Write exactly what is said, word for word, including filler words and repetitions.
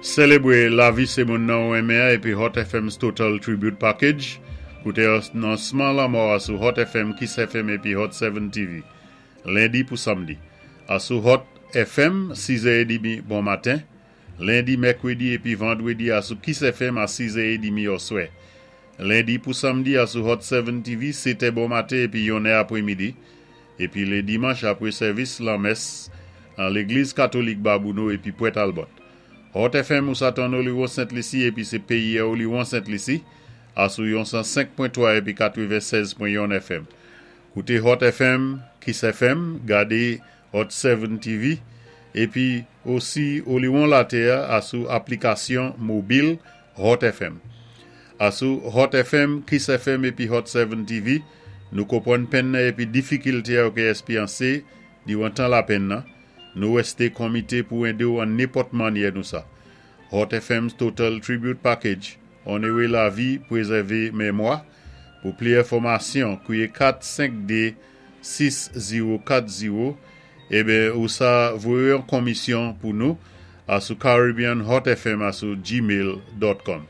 Sélébwé lavi sé moun nan ou enmen épi Hot F M's Total Tribute Package. Kouté anonsman lanmò a sou Hot F M, Kiss F M épi Hot sept T V. Lendi pou samdi. A sou Hot F M, sis è trant bon maten. Lendi, mèkwédi épi vandwédi a sou Kiss F M a sis è trant oswè. Lendi pou samdi a sou Hot sept T V, sèt è bon maten épi yon è apwémidi. Épi lé dimanch apwé sèvis lanmès an Légliz Katolik Babouno épi Pwent Albert. Hot F M ou sa tann Oliwon Sent Lisi épi sé péyi a Oliwon Sent Lisi a sou yon san senk pwen twa épi katwennsèz pwen yon F M. Kouté Hot F M, Kiss F M, gadé Hot sept T V épi osi Oliwon Latè a sou aplikasyon mobil Hot F M. A sou Hot F M, Kiss F M épi Hot sept T V, nou konpwann penn nan épi difikilté a ou ké èspéryansé diwan tan lapenn nan, nou wèsté konmité pou édé ou an nenpòt mannyè nou sa. Hot F M's Total Tribute Package, onoré lavi, pwézèvé mémwa. Pou pli enfòmasyon, kwiyé kat senk dé sis zewo kat zewo ében ou sa voyé yon konmisyon pou nou a sou Caribbean Hot F M a sou gmail pwen com.